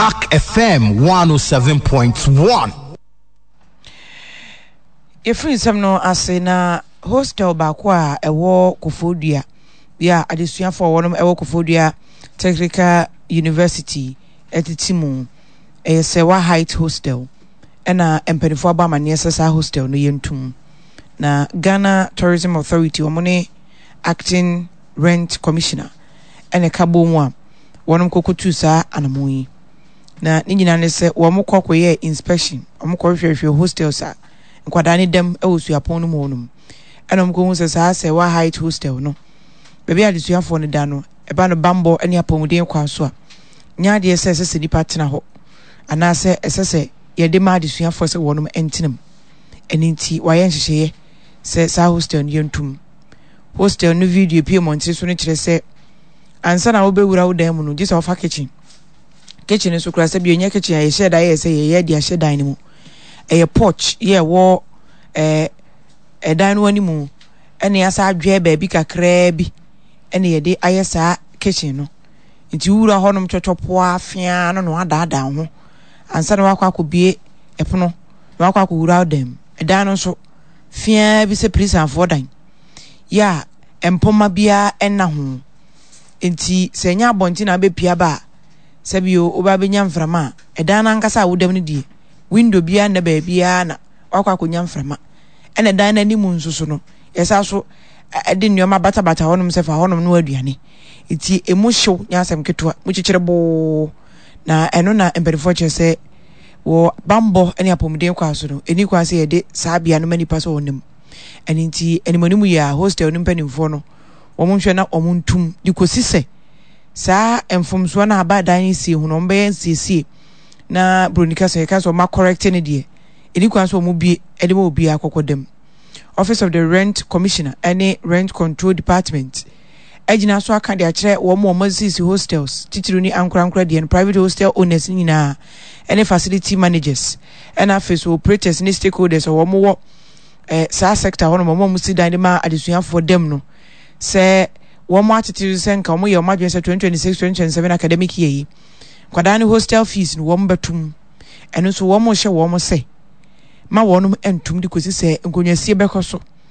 Ark FM 107.1. Yɛfiri nsɛm no ase na hostel baako a ɛwɔ Koforidua bi a adesuafoɔ a wɔnom ɛwɔ Koforidua Technical University ɛtete mu ɛyɛ Sɛwa Height Hostel ɛna mpanimfoɔ abɔ amaneɛ sɛ saa hostel no yɛntum na Ghana Tourism Authority wɔn ne Acting Rent Commissioner ɛna ɛka bɔ mu a wɔnom kɔkɔtuu saa anamɔn yi. Na ne nyinaa ne sɛ wɔn kɔ kɔyɛɛ inspection, wɔn kɔ hwehwɛhwɛ hostels a nkwadaa ne dam wɔ suapɔn no mu hɔ nom. Ɛna wɔn kɔhu sɛ saa Sɛwa Height Hostel no, baabi a adesuafoɔ no da no, ɛba no bammɔ ne apɔmuden kwan so a, nyɛ adeɛ sɛ ɛsɛ sɛ nnipa tena hɔ anaasɛ ɛsɛ sɛ yɛde ma adesuafoɔ sɛ wɔnom ntena mu. Ɛno nti wɔayɛ nhyehyɛeɛ sɛ saa hostel no yɛntum. Hostel no video pie mmɔntene so no kyerɛ sɛ ansa na wobɛwura wo dan mu no, gye sɛ wofa kitchen. Kitchen nso koraa sɛ bi ɛnyɛ kitchen a yɛhyɛ da yɛ sɛ yɛyɛ de ahyɛ dan no mu. Ɛyɛ porch yɛ ɛwɔ ɛɛ ɛdan no anim ɛna yɛasa adwɛ baabi kakraa bi ɛna yɛde ayɛ saa kitchen no. Nti wowura hɔnom twɔtwɔpoa feaa no na wadaadaa wo ho ansa na wakɔ akɔbue ɛpono na wakɔ akɔwura wo dan mu. Ɛdan no nso feaa bi sɛ pirisanfoɔ dan yɛ a mpoma biara nna ho. Nti sɛ ɛnyɛ abɔnten na wobɛpue aba a, sɛbio wobɛ abɛnya mframa a, ɛdan no ankasa a woda mu no deɛ, window biara nna baabiara na wakɔ akɔnya mframa. Ɛna ɛdan no anim nso so no, yɛsa so de nneɛma batabata hɔnom sɛ fa hɔnom no aduane. Nti emu hyew nyɛ asɛm ketewa, mu kyekyere boo. Na ɛno na mpanimfoɔ kyerɛ sɛ wɔ bammɔ ne apɔmuden kwan so no, ɛni kwan sɛ yɛde saa bea no ma nnipa sɛ wɔnam. Ɛno nti animanim yɛ a hostel no mpanimfoɔ no wɔn nhwɛ na wɔn ntum de kɔsi sɛ saa mfomsoɔ no a aba dan no sie ho no wɔn bɛyɛ nsiesie na buroni kasa yɛka sɛ wɔn akɔrɛkte no deɛ ɛni kwan sɛ wɔn bie de ma obiara kɔkɔ dam. Office of the Rent Commissioner ne Rent Control Department agyina so aka de akyerɛ wɔn a wɔasisi hostels, titiriw ne ankorankoro deɛ no, private hostel owners no nyinaa, ne facility managers, ɛna afei so operators ne stakeholders a wɔwɔ eh, saa sector hɔ nom, wɔn a wɔsi dan de ma adesuafoɔ dam no, sɛ wɔn atete sɛ nka wɔyɛ wɔn adwene sɛ 2026-2027 academic year yi, nkwadaa no hostel fees no wɔn bɛtum. Ɛno nso wɔn hyɛ wɔn sɛ ma wɔn ntum de kɔsi sɛ nkonnwasie bɛkɔ so.